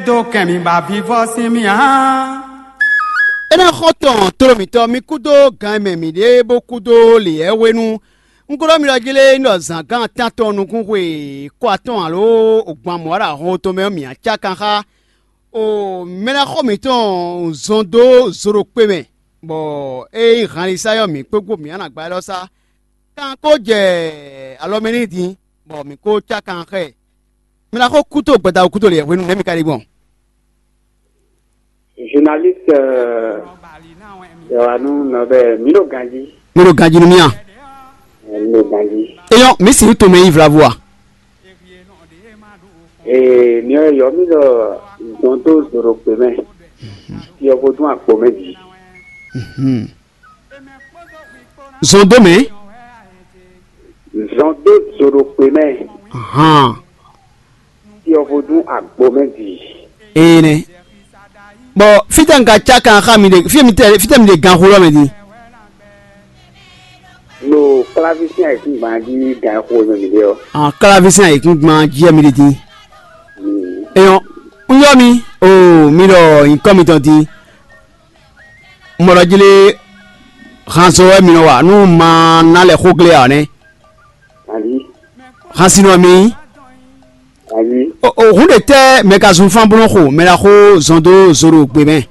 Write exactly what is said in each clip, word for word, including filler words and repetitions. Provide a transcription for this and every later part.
Dó kɛn mi ba vivɔ sín mì hán. É ná xɔ tɔn tló mǐtɔn mi kúdó gan e mɛ mǐ ɖe bó kúdó lě hwenu. Un ko ɖɔ mi ɖɔ jí lé, un ɖɔ zǎngán tántɔn nukún xwe kɔ atɔ́ɔ́n alo gban mɔ̌ ɖo ahɔn tɔn mɛ ɔ́, mǐ á cá kan xá. O mɛ ná xɔ mǐtɔn zɔn dó zo ɖo kpe mɛ, bɔ é nyí hanlisa ɔ́, mǐ kpégbó mǐ á nǎ gbá ɛ́ lɔ sá. Kan ko jɛ alɔ mɛ n'i din, bɔ mǐ ko cá kan xá ɛ. Mi ná xo kúto gbɛdawú kúto lě hwenu nɛ̌ mi ka ɖi gbɔn? Journaliste, euh, Yohanu Nɔbɛ, mi ɖo ganji. Mi ɖo ganji nú mì a? Mi ɖo ganji. Eyɔn, mi si to mɛ yi vlavo a? Ee, mi ɔ yɔ mi ɖɔ zɔn dó zoro kpe mɛ. Yɔ ko dún akpo mɛ ji. Mhm. Zɔn dó mɛ. Zɔn dó zoro kpe mɛ. Ahan. Yɔ ko dún akpo mɛ ji. Ee nɛ. Bɔ fítɛ un ka cá kan xá mi ɖe, fí mi tɛ fítɛ mi ɖe gan xó lɔ mɛ din. Lo kláví sín ayǐkúngban jí gan e xo e mɛ mi ɖe ɔ́. An kláví sín ayǐkúngban jí wɛ mi ɖe din. Eyɔn, un yɔ mi, o mi ɖɔ nyǐkɔ mitɔn din. Mɔ ɖɔ jí lé, hanzɔ wɛ mi nɔ wa nú ma ná lɛ xó glé ǎ nɛ́. Hansinɔ mi. Hun ɖe tɛ́ mɛ ka zun fán bó nɔ́ xo mɛ ɖaxó zɔn dó zo ɖo gbe mɛ?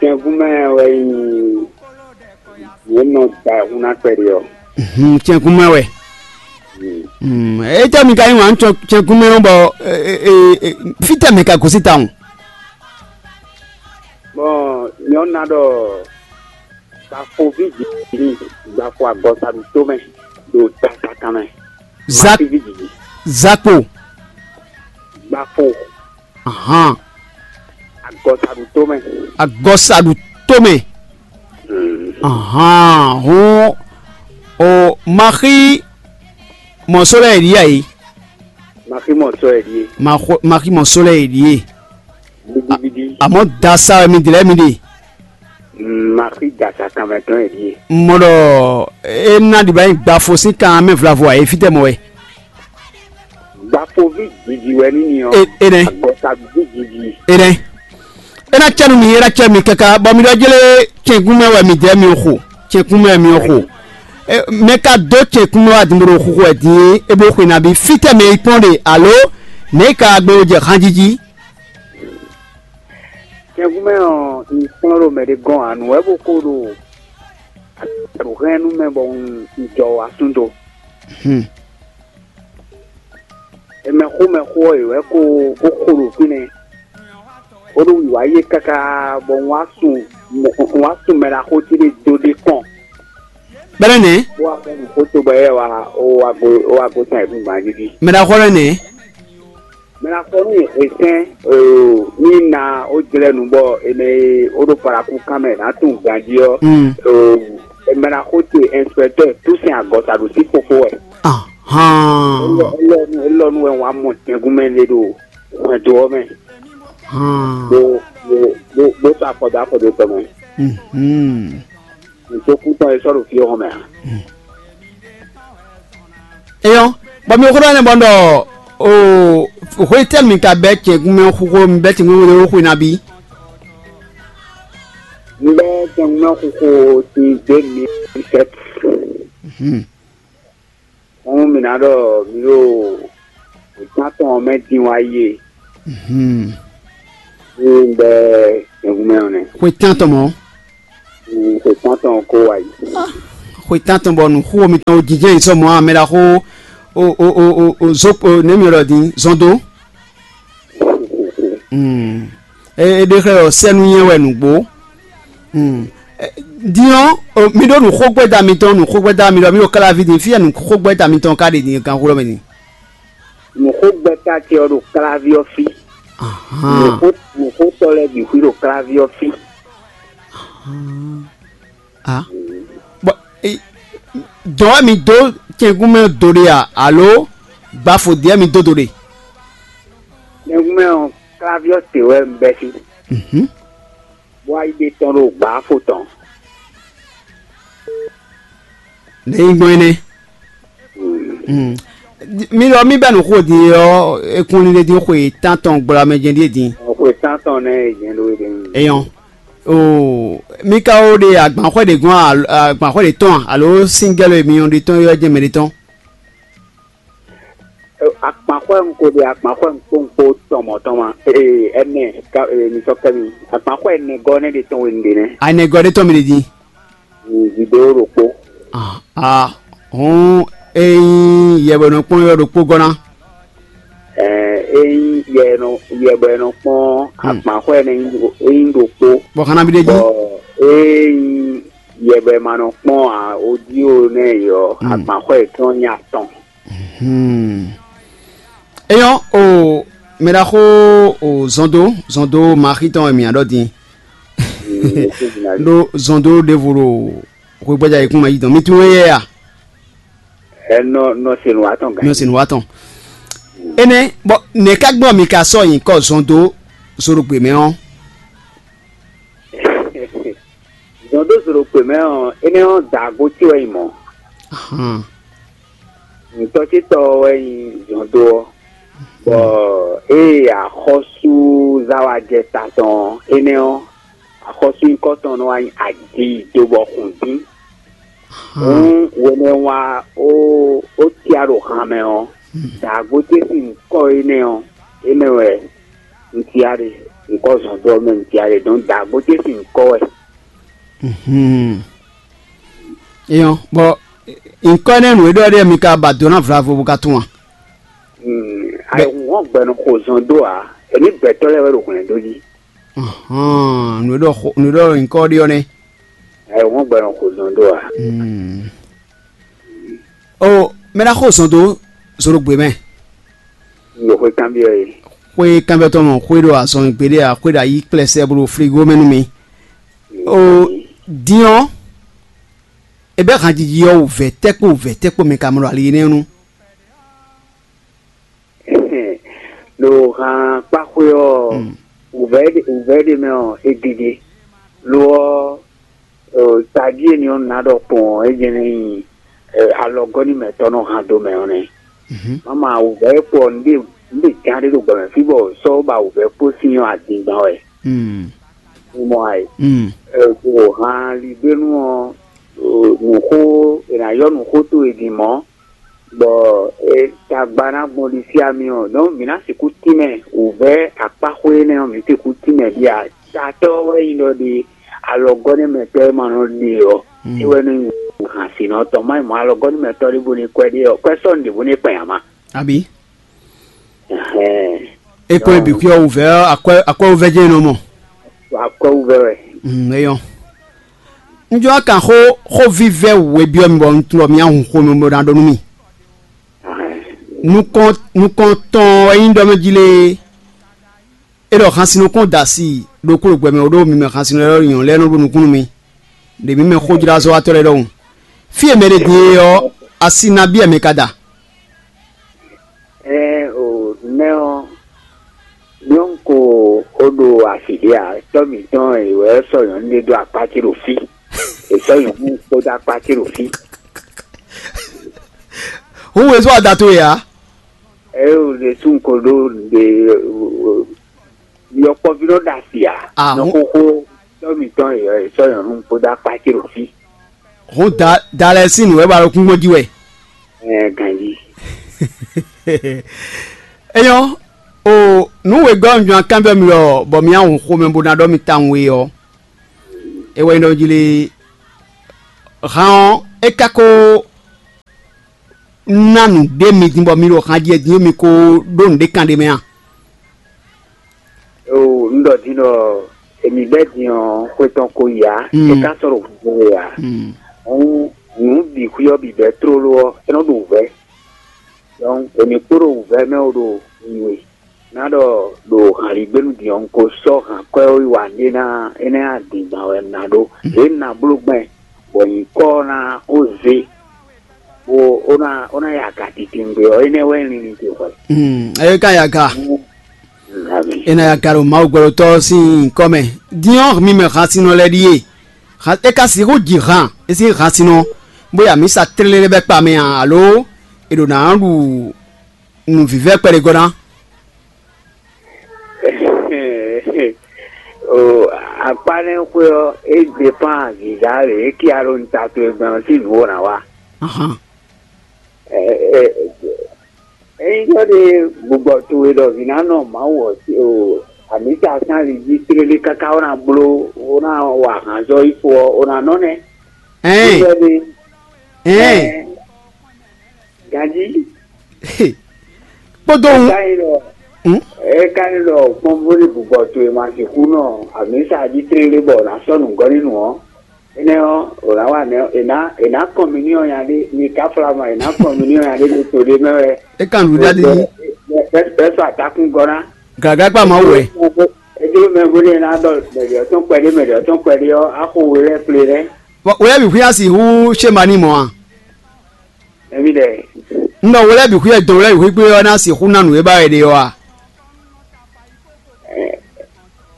Tɛngun mɛ wɛ nyí yě nɔ da hun ná kpɛɖé ɔ́. Tɛngun mɛ wɛ. Étɛ́ mi ka nyí wǎn tɛngun mɛ ɔ́ bɔ fítɛ́ mɛ ka gosín tawun? Bɔn nyɔ̌nu ná ɖɔ gbafoví jǐ ní gbafo agɔsa ɖo tó mɛ ɖo tatakan mɛ. Zak- Matíví jǐ. Zakpo. Gbafo. Ahan. Agɔsa ɖo tó mɛ. Agɔsa ɖo tó mɛ. Ahan. Hɔn o maxi mɔsó lɛ yě ɖi yá yìí. Maxi mɔsó lɛ yě ɖi yé. Maxi mɔsó lɛ yě ɖi yé. Bidibidi. Àmọ́ dasa wɛ mi dlɛ́ mi ɖe. Maxi dasa kanmɛ tɔn yě ɖi yé. Mɔ ɖɔ é ná ɖi bá nyí gbafo sín kan mɛ vlavo ǎ é fítɛ́ mɔ wɛ. Gbafoví jiji wɛ ní ni ɔ́. Enɛ. Agɔkaví jiji. Enɛ. É ná cɛ nú mi, é ná cɛ mi káká bɔ mi ɖɔ jélé cɛnkún mɛ wɛ mi jɛ mi xo, cɛnkún mɛ mi xo. Mɛ ka dó cɛnkún mɛ wá dundun ɖo xuxu wɛ din é bó xwe nabí fítɛ́ mɛ yi kpɔ́n ɖe alo nɛ̌ yi ka gbé wó jɛ hanjiji? Cɛnkún mɛ ɔ́, un kplɔ́n ɖo mɛ ɖé gɔ́n ǎ, nǔ wɛ bó ko ɖo aɖǔ hɛn nú mɛ bɔ un jɔ wá súnto. Mɛxó mɛxó ɔ́, yě wɛ ko bó xo ɖo fínɛ́, bó ɖo wǐwá yé káká bɔ un wá sun un wá sun mɛ ɖaxó ce ɖé dó ɖé kpɔ́n. Bɛ́nɛ́ nɛ̌? Bó wá fɔ nǔ xó to bɔ é wá ó wá gosín ayǐkúngban jí jí. Mɛ ɖaxó lɛ́ɛ nɛ̌? Mɛ ná xɔ nú hwesɛ́n ní na ó jlɛ́ nǔ bɔ è nɔ e ó ɖo paɖakú kan mɛ nǎ tunwun ganjí ɔ́, mɛ ná xó te inspecteur Toussaint Agɔsa ɖo sí fofó wɛ. Ahán. Élɔ́ nú élɔ́ nú wɛ wǎ mɔ tɛngúnmɛ lé ɖo hwɛndo ɔ́ mɛ, Hán. Bó bó bó bó sɔ́ afɔ dó afɔ dó tɔn mɛ. Mhm. Nǔsókú tɔn e sɔ́ ɖo fí ɔ́ hɔn mɛ ǎ. Eyɔn, bɔ mi xó ɖɔ nɛ́ bɔ un ɖɔ o hwetɛ́nu mi ka bɛ́ cɛ̌nkúnmɛ xúxó mi bɛ́ cɛ̌nkúnmɛ xúxó xwe nabí? Un bɛ́ cɛ̌nkúnmɛ xúxó sín deux mille sept. Hɔn mi ná ɖɔ mi ɖo wětán tɔn ɔ́ mɛ dín wá yi e. Ní un bɛ́ cɛ̌nkúnmɛ ɔ́ nɛ́. Xwe tántɔn mɔ̌. Xwe tántɔn ko wá yi. Xwe tántɔn bɔ nǔxó mitɔn jijɛ yi sɔ mɔ̌ ǎ, mɛ ɖaxó o o o o o zó o nɛ̌ mi ɖɔ din zɔn dó. É ɖe xlɛ́ ɔ́ sɛ́nú nyɛ wɛ nǔgbó. Din ɔ́, mi ɖó nǔxógbɛ́da mitɔn nǔxógbɛ́da mi ɖɔ mi ɖo kálaví din fí e nǔxógbɛ́da mitɔn ka ɖe din ganxó lɔ mɛ din. Nǔxógbɛ́ta ce ɔ́ ɖo kláví ɔ́ fí. Nǔxótɔ́ lɛ́ɛ bǐ xwí ɖo kláví ɔ́ fí. Bɔ dɔ̌ wɛ mi dó cɛngúmɛ do ɖe a alo gbafo dě wɛ mi dó do ɖe? Cɛngúmɛ ɔ́, kláví ɔ́ se wɛ un bɛ́ fí, bó wá yi ɖe tɔn ɖo gbǎfo tɔn. Nɛ̌ nyí gbɔn énɛ́? Mi ɖɔ mì bɛ́ nǔ xo din ɔ́, é kún lílé dín xwe tántɔn gbla mɛ jɛ́n ɖíe din. Xwe tántɔn nɛ́ è jɛ́n ɖó é ɖe. Eyɔn. Oo, mi ka wo ɖe agbanxwɛ ɖě gɔ́n a, agbanxwɛ ɖě tɔn a, alo síngɛ́lo e mi nyɔ́ ɖe tɔn é wɛ jɛ́n mɛ ɖé tɔn? Akpanxwɛ un ko ɖe akpanxwɛ un kpó un kpó tɔn mɔ̌ tɔn ma. Ee, ɛnɛ ka ee, mi sɔ́ kɛ mi. Akpanxwɛ ɛnɛ gɔ́ nɛ́ ɖe tɔn we un ɖe nɛ́. Anɛgɔ́ ɖé tɔn mi ɖe din. Vidéo ɖokpó. Ah, ah, hɔn, ényí yɛ bɔ nɔ kpɔ́n yɔ ɖokpó gɔ́ ná. Ɛɛ, ényí yɛ nɔ yɛ bɔ nɔ kpɔ́n akpanxwɛ ɛnɛ ényí ɖokpó. Bɔ xana bi ɖe jí. Bɔ ényí yɛ bɔ ma nɔ kpɔ́n a odio nɛ yɔ akpanxwɛ tɔn nyí atɔn. Hmm. Eyɔn o, mɛ ɖaxó o, zɔndo zɔndo maxi tɔn wɛ mǐ ɖɔ din. Ɖó zɔndo ɖěvo ɖo hwegbɛ́já yěkún ma yí dɔn mi tunwun éyɛ́ a? Ɛ nɔ nɔ se nǔ wa tɔn gan. Mi ɔ́ se nǔ wa tɔn. Énɛ́ bɔ nɛ̌ ká gbɔn mi ka sɔ́ nyǐkɔ zɔndo zodogbe mɛ ɔ́? Zɔn dó zǒ ɖo gbě mɛ ɔ́, énɛ́ ɔ́, daagbó ce wɛ nyí mɔ̌. Ahan. Nǔtɔ́ ce tɔ́ ɔ́ wɛ nyí zɔn dó ɔ́, bɔ ée axɔ́súzáwajɛ ta tɔn ɔ́, énɛ́ ɔ́, axɔ́súnyíkɔ tɔn nɔ wá nyí aji dó bɔ xun dín. Hǔn hwenɛ́ wá ó ó cyá ɖo han mɛ ɔ́, daagbó ce sín nyǐkɔ énɛ́ ɔ́, énɛ́ wɛ un cyá ɖe, nyǐkɔ zɔn dó ɔ́ mɛ un cyá ɖe, dɔn daagbó ce sín nyǐkɔ wɛ. Eyɔn, bɔ nyǐkɔ énɛ́ nǔ e ɖɔ ɖe mi ka ba do ná vlavo bó ka tunwun a? Ayihun hɔn gbɛ nɔ xo zɔn dó ǎ, èmi gbɛtɔ́ lɛ́ɛ wɛ ɖo hwlɛ̌n dó jí. Nǔ e ɖɔ xo- nǔ e ɖɔ nyǐkɔ ɖe ɔ́ nɛ́. Ayihun hɔn gbɛ nɔ xo zɔn dó ǎ. O mɛ ná xo zɔn dó zodogbe mɛ. N ɖo xwé kanbyɔ́ é. Xwé kanbyɔ́tɔ́ mɔ xwé ɖo azɔn gbeɖé a xwé ɖo ayi kplɛsɛ bó ɖo frigo mɛ nú mi. O din ɔ́, e bɛ́ hanjiji ɔ́ wǔvɛ́ tɛ́ kpó wǔvɛ́ tɛ́ kpó mɛ ka mɔ ɖo ali énɛ́ nu. Ɖo han kpáxwé ɔ́, wǔvɛ́ ɖe wǔvɛ́ ɖe mɛ ɔ́, é gege. Lo ɔ́, tají e ni ɔ́ ná ɖɔ kpɔn ɔ́, é jɛ́n ní nyí alɔgɔ́ ní mɛtɔ́ nɔ han do mɛ ɔ́ nɛ́. Mama wǔvɛ́ kpɔ nǔɖe nǔɖe gán ɖé ɖo gbɔmɛ fí bɔ sɔ́ ba wǔvɛ́ kpó sín ɔ́ adingban wɛ. Mo mɔ ayǐ. Ɖo han ligbénu ɔ́, nǔxó è nǎ yɔ nǔxó towe din mɔ̌, bɔ tagba ná gbɔn ɖisí ami ɔ́, donc mǐ ná sixú tínmɛ wǔvɛ́ akpáxwé énɛ́ ɔ́, mǐ sixú tínmɛ ɖíe ǎ. Tatɔ́ wɛ nyí ɖɔ ɖe alɔgɔ́nɛ́mɛtɔ́ e ma nɔ ɖe ɔ́, é wɛ nɔ nyí hansinɔ tɔn. Má nyí mɔ̌ alɔgɔ́nɛ́mɛtɔ́ ɖěvo ní kwɛ́ ɖe ɔ́, kwɛ́ sɔ́ nǔɖěvo ní kpɛn ǎ má. Abǐ? Ɛhɛn. É kpɔ́n é bǐ xwí ɔ́ wǔvɛ́ ɔ́, akwɛ́ akwɛ́ wúvɛ́ jɛ́n é nɔ mɔ. Akwɛ́ wúvɛ́ wɛ. Mm, é nyɔ́. Un jló ná kan xó xó vívɛ́ wǔ e byɔ́ mi bɔ un tunwun ɖɔ mi nyí ahun xomɛ bó ná ɖɔ nú mi. Nukɔn nukɔntɔn wɛ nyí ɖɔ mɛ jí lé. É ɖɔ hansin nukɔn da asi ɖokpó ɖo gbɛ mɛ ɖó mi mɛ hansin lɛ́ɛ nyɔ̌nu lɛ́ɛ nɔ ɖo nukún nú mi. Ɖě mi mɛ xójlázɔ́watɔ́ lɛ́ɛ ɖɔhun. Fí e mɛ ɖé din é ɔ́, asi nabí wɛ mɛ ka da? Ɛɛ o, nɛ́ ɔ́, nyɔ́nu ko ó ɖo asi ɖě ǎ, tɔ́ mǐtɔn è wɛ sɔ́ nyɔ̌nu ɖé dó akpá ce ɖo fí. È sɔ́ nyɔ̌nu kpódó akpá ce ɖo fí. Hǔn wezú ada towe ǎ. Ɛ o, ɖe sún ko ɖó ɖe yɔkpɔ́ví nɔ ɖo asi ǎ. Ah, nɔ hǔn- xóxó tɔ́ mǐtɔn è wɛ sɔ́ nyɔ̌nu kpódó akpá ce ɖo fí. Hǔn da da lɛ́ɛ sín nǔ wɛ ba ɖo kúngbɔ́n jí wɛ. Ɛ ganjí. Eyɔ́, o nǔ wěgɔ́ un jɔn kanbyɔ́ mi lɔ bɔ mi ahun xomɛ bó ná ɖɔ mi tawun we ɔ́, é wɛ nyí ɖɔ jí lé han ɔ́, é ka ko ná nǔɖé mi din bɔ mi ɖo han jí din mi ko ɖó nǔɖé kan ɖé mɛ a? O un ɖɔ din ɖɔ èmi bɛ́ din ɔ́ xwé tɔn ko yi ǎ, é ka sɔ́ ɖo hwɛhwɛ ǎ. Hǔn nǔ bǐ xwí ɔ́ bǐ bɛ́ tlóló ɔ́, é nɔ ɖo wǔvɛ́. Donc èmi kpó ɖo wǔvɛ́ mɛ ó ɖo nyi we. Ná ɖɔ ɖo hanlígbénu din ɔ́, un ko sɔ́ hǎnkwɛ́ ɔ́ yi wa ɖé ná énɛ́ adǐngban wɛ un ná ɖó. Lě un ná bló gbɛn bɔ nyǐkɔ ɔ́ ná ó zé bó ó ná ó ná ya aga titewungbe ɔ́, énɛ́ wɛ un linlin ce hwɛ. Ɛ ka ya ga. È nɔ ya ga ɖo Mawu gbɛɖotɔ́ sín nyǐkɔ mɛ. Din ɔ́, mi mɛ hansinnɔ lɛ́ɛ ɖíe. É ka sixú ji han é sín hansinnɔ, bó ya mǐ sa tlélé bɛ́ kpa mɛ a, alo è ɖo nǎ ɖu nǔvívɛ́ kpɛɖé gɔ́ ná. O akpá nɛ́ xwé ɔ́, é dépán zǐzá lě é cí alɔ ta towe gbɛn ɔ́ sín nǔ e ná wa. Ahan. Ényí ɖɔ ɖe gbɔgbɔ towe ɖɔ vǐ ná nɔ Mawu ɔ́ sí o amǐta sín ali jí tlélé káká ó ná bló ó ná wa ahanzɔ́ yi fo ɔ́, ó ná nɔ nɛ́. Ɛɛn. Ɖɔ ɖe Ɛɛn. Ganjí. Kpódó ŋu. Ká nyí ɖɔ Hmm? É ka nyí ɖɔ kpɔ́nvú ní bǔbɔ towe ma sixú nɔ amǐsa jí tlélé bɔ nǎ sɔ́ nǔgɔ́ ní nǔ ɔ́, énɛ́ ɔ́, è nǎ wa nɛ́ è nǎ è nǎ kɔn mì n'i ɔ́ nya ɖé, mi ka flá ma è nǎ kɔn mì n'i ɔ́ nya ɖé ɖo to ɖé mɛ wɛ. É kan nǔɖé ɖi. Bɛ́ sɔ́ atakún gɔ́ ná. Gǎgá kpa Mawu wɛ. É jló mɛ bó ɖe ná ɖɔ mɛɖě ɔ́ tɔn kpɛɖé mɛɖě ɔ́ tɔn kpɛɖé ɔ́, axo we lɛ́ɛ kplé nɛ́. Wɛ bǐ xwíá sixú ṣé ma ní mɔ a? Émí ɖɛ. Un ɖɔ we lɛ́ɛ bǐ xwíá dɔn we lɛ́ɛ bǐ xwí gbé ɔ́ ná sixú ná nǔ e ba wɛ ɖe ɔ́ a?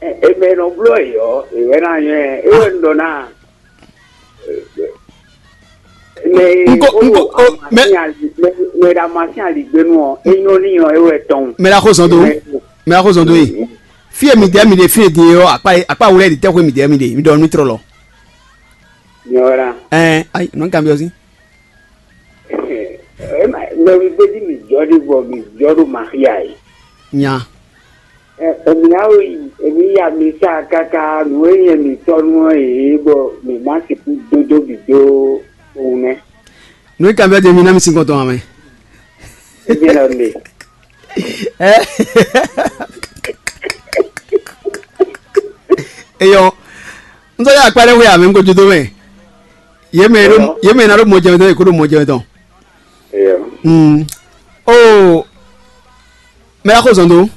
Eme nɔ bló yɔ ìwé ná nyɔ́ ɛ é wɛ un ɖɔ ná. Nko nko o mɛ mɛ ɖa ma sín aligbénu ɔ é nyɔ́ ní ɔ é wɛ tɔn. Mɛ ɖa xó zɔn dó. Mɛ ɖa xó zɔn dó yi. Fí e mi dɛ mi ɖe fí e din ɔ́ akpa akpa wulɛ ɖi tɛ́xwé mi dɛ mi ɖe mi ɖɔ nú trɔ lɔ. Nyɔ́ wɛ ɖa. Ɛɛ ayi nɔ kan bi ɔ sí. Mɛ wi gbéjí mi jɔ ɖi bɔ mi jɔ ɖo maxia yi. Nya. Èmi ná wí èmi ya mi sa káká nǔ e nyɛ mi tɔ́ nú ɔ́ yě bɔ mi má sixú dódó bǐ dó kpowun nɛ́. Nǔ e kan vɛ́ din mi ná mi sín kɔn tɔn ǎ mɛ. Émi lɔ nde. Eyɔ, n sɔ yà kpá ɖé wé ǎ mɛ n ko jó dó mɛ. Yě mɛ e ɖó yě mɛ e ná ɖó mɔjɛmɛ tɔn yě kó ɖó mɔjɛmɛ tɔn. Mm. Oo, mɛ ná xó zɔn dó.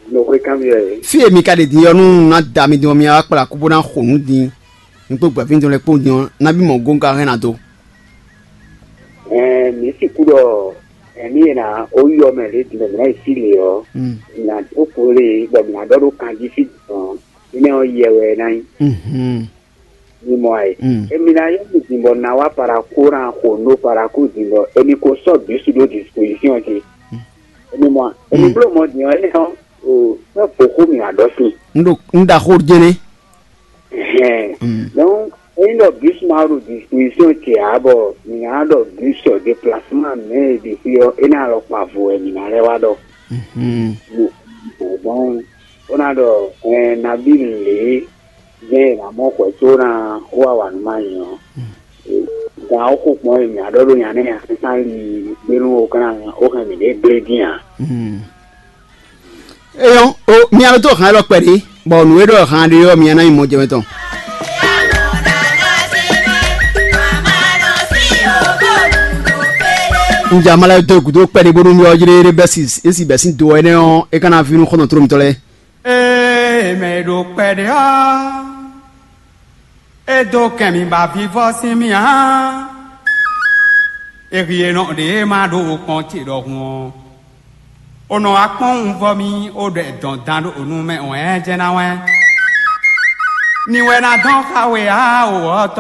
Nɔ xwé kanbyɔ́ yě. Fí e mi ka ɖe din ɔ́, nú un ná da mi din ɔ́, mi wá kplá kú bó ná xo nǔ din. Mi kpó gbɛ̌fín tɔn lɛ́ɛ kpó din ɔ́, nabí mɔ gǒ un ka hɛn ná dó. Ɛɛ, mǐ sixú ɖɔ ɛmí e ná ó yɔ mɛ lě din mɛ mǐ ná yi sí lě ɔ́, mǐ ná dó kpo lé bɔ mǐ ná ɖɔ ɖó kanjí fí dɔn. Énɛ́ ɔ́, yɛ wɛ é ná nyí. Mhm. Mi mɔ ayǐ. Mm. Emi ná yɔ mi din bɔ na wá paraku ná xo nú paraku din bɔ emi ko sɔ́ bǐsu ɖó disposition ce. Emi mɔ emi bló mɔ din ɔ́, é hɔn o fɛn fo xó mi wá ɖɔ sin. N ɖo n ɖa xó jɛnɛ. Hɛn. Mm. Donc eyin ɖɔ bǐsu ma ɖo disposition ce ǎ bɔ mi ná ɖɔ bǐsu déplacement mɛ e ɖi fí ɔ́, é ná lɔ kpa vo wɛ mi ná lɛ́ wá ɖɔ. Mhm. Bon, bon, ó ná ɖɔ ɛɛ nabí lě jɛ́n è nǎ mɔ xwɛ có ná wá wa nǔ ma nyɛ ɔ́. Gan ɔ́ xo kpɔ́n e mǐ á ɖɔ ɖó nya nɛ́ nya sésán li gbénú ó kán ó hɛn mǐ ɖě gblé dín ǎ. Eyɔ́ o mi alo tó hàn élɔ́ kpɛɖé, bɔ nǔ e ɖɔ hàn ɖé ɔ́ mi ná nyí mɔjɛmɛ tɔn. Un ja ma lɛ́ dó gǔdo kpɛɖé bónú mi ɔ́ jlé ɖé bɛ́ si é si bɛ́ sín do ɛnɛ́ ɔ́, é ka ná ví nú xɔ́ntɔn tló mitɔn lɛ́ɛ. Ée mɛ e ɖo kpɛɖé ɔ́, é dó kɛn mi ba vivɔ́ sín mì ǎ. È hwi e nɔ ɖě ma ɖo kpɔ́n ce ɖɔhun ɔ́, è nɔ wá kpɔ́n wunvɔ́ mì ó ɖɔ dɔn dan ɖo nú mɛ wɛ̌n jɛ́n ná wɛ́n. Ni wɛ ná dɔn xa we ǎ, o wɔ̌tɔ́.